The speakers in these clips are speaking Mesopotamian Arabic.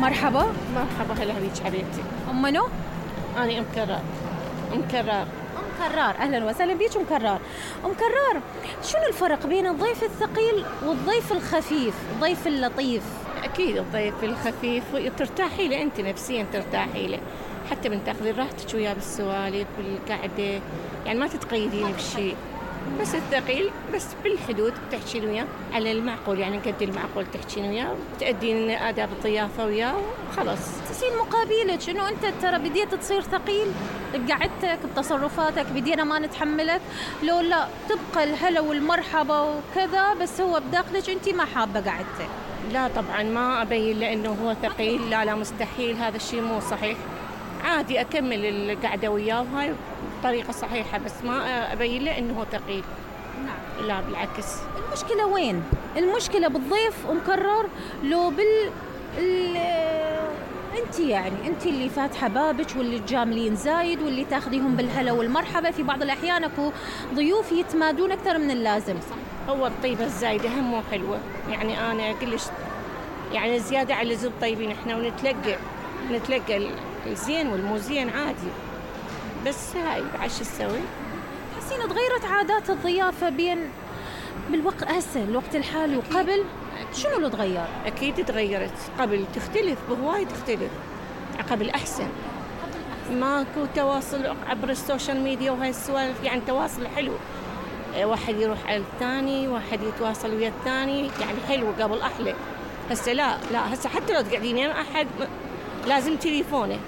مرحبا. مرحبا، هلا بيك حبيبتي. أم منو؟ أنا أم كرار. أم كرار. أم كرار، أهلا وسهلا بيك أم كرار. أم كرار، شنو الفرق بين الضيف الثقيل والضيف الخفيف، الضيف اللطيف؟ أكيد الضيف الخفيف ترتاحي له، أنت نفسيا ترتاحي له، حتى من تاخذين راحتك وياه بالسوالف والقعدة، يعني ما تتقيدين بشيء. بس الثقيل بس بالحدود تحكين وياه على المعقول، يعني قد المعقول تحكين وياه وتأدين آداب الضيافة وياه وخلاص. تصير مقابلك إنه أنت ترى بديت تصير ثقيل بقعدتك بتصرفاتك، بدينا ما نتحملك، لو لا تبقى الهلا والمرحبا وكذا، بس هو بداخلك أنت ما حابة قعدتك. لا طبعا ما أبين لأنه هو ثقيل، لا مستحيل، هذا الشيء مو صحيح. عادي أكمل القعدة وياه وهاي بطريقة صحيحة، بس ما أبين له إنه هو ثقيل. نعم. لا بالعكس. المشكلة وين؟ المشكلة بالضيف مكرر لو انت، يعني انت اللي فاتحة بابك واللي تجاملين زايد واللي تاخذيهم بالهلا والمرحبا. في بعض الأحيان اكو ضيوف يتمادون أكثر من اللازم. هو الطيبة الزايدة هم مو حلوة، يعني أنا كلش يعني زيادة على اللزوم طيبين إحنا، ونتلقى الزين والمو زين عادي، بس هاي بعد شو تسوي؟ تحسين تغيرت عادات الضيافة بين بالوقت هسه الوقت الحالي وقبل؟ شنو اللي تغير؟ أكيد تغيرت. قبل تختلف بهواي، تختلف قبل أحسن، ماكو تواصل عبر السوشيال ميديا وهاي السوالف، يعني تواصل حلو، واحد يروح على الثاني، واحد يتواصل ويا الثاني، يعني حلو قبل أحلى. هسه لا هسه حتى لو تقعدين يم أحد لازم تليفونه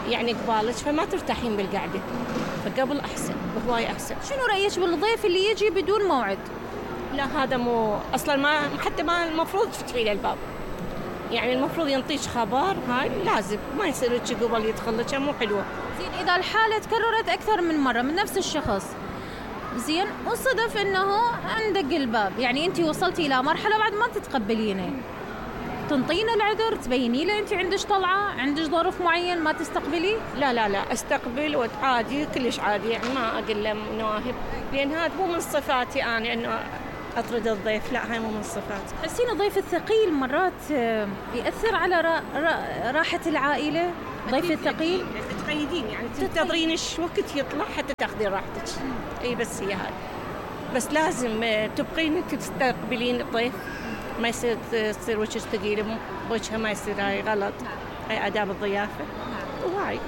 يعني قبالك، فما ترتاحين بالقعدة، فقبل أحسن بهواي أحسن. شنو رأيك بالضيف اللي يجي بدون موعد؟ لا هذا مو أصلا، ما حتى ما المفروض تفتحي له الباب، يعني المفروض ينطيش خبر، هاي لازم ما يصير لك قبل يدخل لك، مو حلوة. زين إذا الحالة تكررت أكثر من مرة من نفس الشخص، زين وصدف إنه عندك الباب، يعني أنت وصلتي إلى مرحلة بعد ما تتقبلينه، تنطينا العذر، تبيني له أنت عندك طلعة، عندك ظرف معين ما تستقبلي؟ لا استقبل وعادي، كلش عادي، يعني ما أقول له نواهب، لأن هذا مو من صفاتي أنا إنه أطرد الضيف، لا هاي مو من صفاتي. تحسين الضيف الثقيل مرات يأثر على راحة العائلة؟ الضيف الثقيل تقيدين، يعني تنتظرين وقت يطلع حتى تاخذين راحتك. اي بس هي هذا، بس لازم تبقين تستقبلين الضيف، ما يصير تصير وجهك ثقيل بوجهه، ما يصير، هاي غلط، هاي آداب الضيافة. وهاي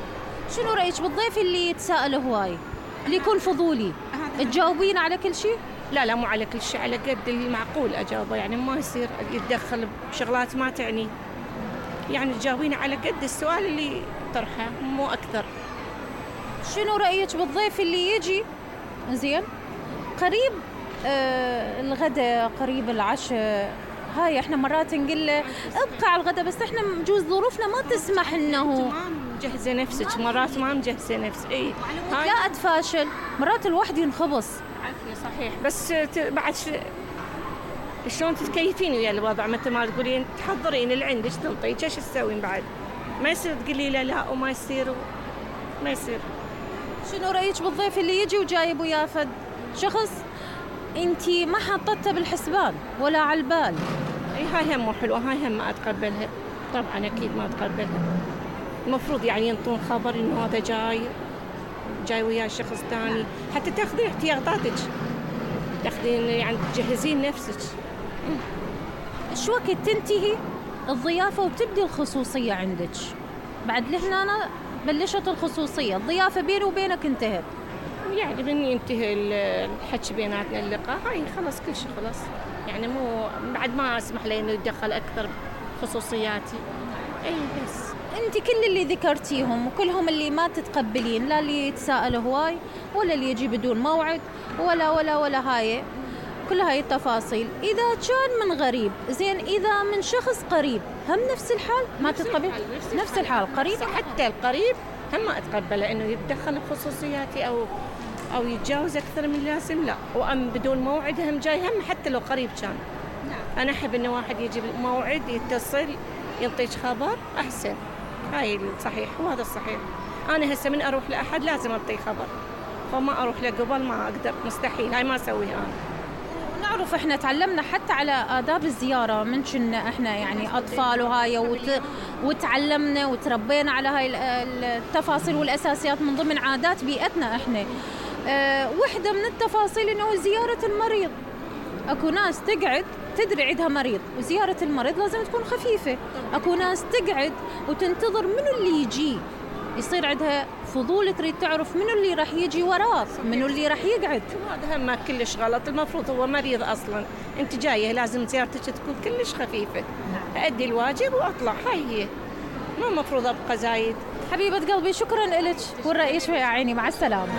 شنو رأيك بالضيف اللي يتساءل هواي، اللي يكون فضولي؟ تجاوبين على كل شيء؟ لا مو على كل شيء، على قد المعقول أجاوبه، يعني ما يصير يتدخل بشغلات ما تعني، يعني تجاوبين على قد السؤال اللي طرحه مو أكثر. شنو رأيك بالضيف اللي يجي زين قريب الغداء، قريب العشاء، هاي احنا مرات نقول له ابقى على الغداء، بس احنا بجوز ظروفنا ما تسمح انه ما مجهزه نفسك، مرات ما مجهزه نفسك، اي لا اتفاشل، مرات الواحد ينخبص. عارفه صحيح، بس بعد شلون تتكيفين ويا الوضع، مثل ما تقولين تحضرين اللي عندك تنطيك، ايش تسوين بعد؟ ما يصير تقولي لا وما يصير ما يصير. شنو رايك بالضيف اللي يجي وجايب وياه فد شخص انتي ما حطته بالحسبان ولا على البال؟ اي هاي هم مو حلوه، هاي هم ما اتقبلها طبعا، اكيد ما اتقبلها. المفروض يعني ينطون خبر انه هذا جاي وياه شخص ثاني، حتى تاخذين احتياطاتك، تاخذين يعني تجهزين نفسك. شو وقت تنتهي الضيافه وتبدي الخصوصيه عندك؟ بعد لهنا بلشت الخصوصيه، الضيافه بيني وبينك انتهت، يعني من ينتهي الحكي بيناتنا، اللقاء، هاي خلاص كل شيء خلاص، يعني مو بعد ما اسمح له انه يتدخل اكثر بخصوصياتي. اي بس انت كل اللي ذكرتيهم وكلهم اللي ما تتقبلين، لا اللي يتساءل هواي ولا اللي يجي بدون موعد ولا هاي كل هاي التفاصيل، اذا كان من غريب زين، اذا من شخص قريب هم نفس الحال ما تتقبل؟ نفس الحال قريب، حتى القريب هم ما اتقبله انه يتدخل بخصوصياتي او يتجاوز اكثر من اللازم، لا. وام بدون موعد هم جاي، هم حتى لو قريب كان. انا احب انه واحد يجي بموعد، يتصل، ينطيك خبر، احسن. هاي الصحيح وهذا الصحيح. انا هسه من اروح لاحد لازم اعطيه خبر، فما اروح له قبل، ما اقدر، مستحيل، هاي ما اسويها انا. نعرف احنا تعلمنا حتى على آداب الزيارة من كنا احنا يعني أطفال وهاي وتعلمنا وتربينا على هاي التفاصيل والأساسيات من ضمن عادات بيئتنا احنا. واحدة من التفاصيل انه زيارة المريض، اكو ناس تقعد تدري عندها مريض وزيارة المريض لازم تكون خفيفة، اكو ناس تقعد وتنتظر منو اللي يجي، يصير عندها فضول تريد تعرف منو اللي راح يجي وراه، منو اللي راح يقعد. هذا هم كلش غلط، المفروض هو مريض اصلا، انت جايه لازم زيارتك تكون كلش خفيفه، ادي الواجب واطلع، هاي هي، مو المفروض ابقى زايد. حبيبة قلبي شكرا لك، والرأي شوي يا عيني، مع السلامة.